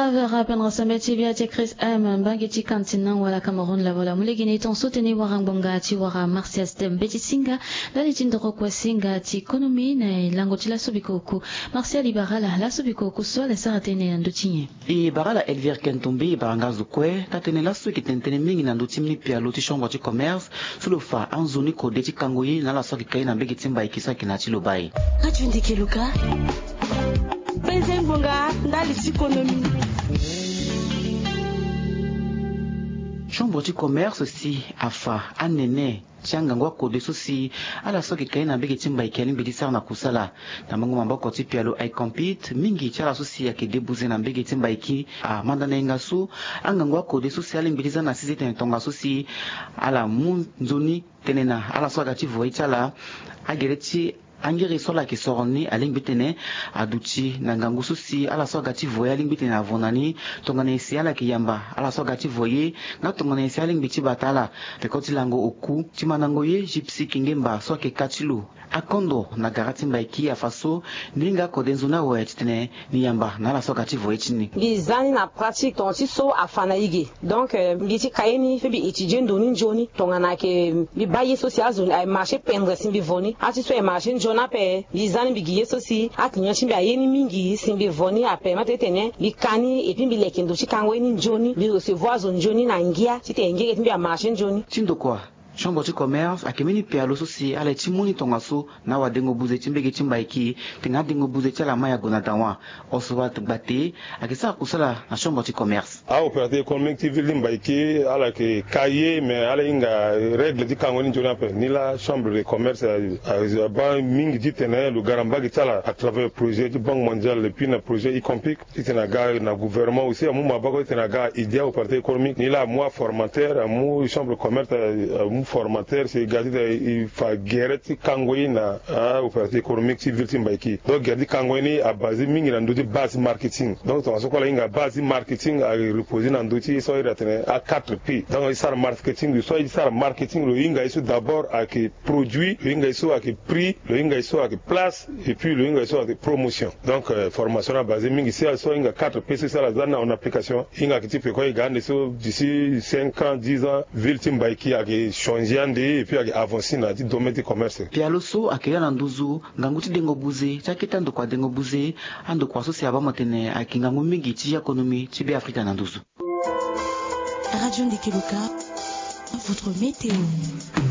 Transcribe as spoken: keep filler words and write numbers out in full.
Avera pendra sambe ti via ti Chris M, mbage ti kantina wala Cameroun lavola. Mu lege ni tonso tene wara ngbonga ti wara Martial Stem mbeti singa ndali ti ndoro kue singa ti konomi na elango ti laso biko oku. Martial, e bara ala laso biko oku so ala sara tënë na ndö ti nyen? E bara ala Elvire Kentombe, e bara nga zo kue taa-tënë laso e yeke tene tënë mingi na ndö ti mbeni pialo ti chambre ti commerce so lo fa anzoni kode ti kango ye na ala so ayeke ka ye na mbage ti Mbaiki so ayeke na ya ti lo baa. Radio Ndeke Luka. Penze ngbonga ndali ti konomi. Chambre ti commerce si afa anene ti angangu akode so si ala so ayeke ka ye na mbage ti Mbaiki alingbi ti sara na kusala. Na mungo maboko ti pialo Icompete, mingi ti ala so si ayeke debuze na mbage ti Mbaiki amanda na yenga so angangu akode so si alingbi ti za na sese tene tongaso si ala mu nzoni tene na ala so aga ti vo ye ti ala agere ti angiri so ala yeke soro ni alingbi tene aduti na ngangu so si ala so aga ti vo ye alingbi tene avo na ni. Tongana nyen si ala yeke yamba ala so aga ti vo ye nga tongana nyen si alingbi ti bata ala. Peko ti lango oku ti mandango ye, Gypsy Kingemba so ayeke ka ti lo akondo na gara ti Mbaiki afa so ni hinga akode nzoni awe titene ni yamba na ala so aga ti vo ye ti ni. Mbi za ni na pratique tonga ti so afa na e ge. Donc, euh, mbi ti ka ye ni, mbi étudier ndo ni nzoni. Tongana ayeke mbi baa ye so si azo ni aye marché pendre si mbi vo ni. Ati so aye marché nzoni ape, mbi za ni mbi gi ye so si aclient ti mbi aye ni mingi si mbi vo ni ape. Mbi permettre titene mbi ka ni, et puis mbi leke ndo ti kango ye ni nzoni, mbi recevoir azo nzoni na ngia titene ngege ti mbi amarché nzoni. Ti ndokua, chambre ti commerce ayeke mbeni pialo so si ala ye ti mu ni tongaso na awadengo buze ti mbage ti Mbaiki, tengana adengo buze ti ala ma ya gue na dawa. Oswald Gbate ayeke sara kusala na chambre ti commerce. Aopérateur économique ti ville ti Mbaiki ala yeke ka ye, mais ala hinga règle ti kango ni nzoni ape. Ni laa chambre de commerce a, a, abaa mingi titene lo ga na mbage ti ala à travers projet ti Banque mondiale et puis na projet Icompete. Titene aga na gouvernement aussi amu maboko titene aga aidé aopérateur économique. Ni laa amu aformateur, amu chambre de commerce, amu formateur si e ga titene e fa gere ti kango ye na aopérateur économique ti ville ti Mbaiki. Donc gere ti kango ye ni abasé mingi na ndö ti base marketing. Donc tongaso kue ala hinga base marketing areposer na ndö ti ye so iri atene a quatre P. Donc e sara marketing, so e sara marketing lo hinga ye so d'abord ayeke produit, lo hinga ye so ayeke prix, lo hinga ye so ayeke place, et puis lo hinga ye so ayeke promotion. Donc, euh, formation ni abasé mingi si ala so ahinga quatre P so si ala za ni na en application, e hinga ayeke ti peko e ga ande so d'ici cinq ans, dix ans, ville ti Mbaiki ayeke changer ande et puis ayeke avancer na ya ti domaine ti commerce. Pialo so ayeke ya na nduzu ngangu ti dengo buze ti akete andokua dengo buze, andokua so si abaa mo tene ayeke ngangu mingi ti économie ti Beafrika na nduzu. Radio Ndeke Luka, votre météo.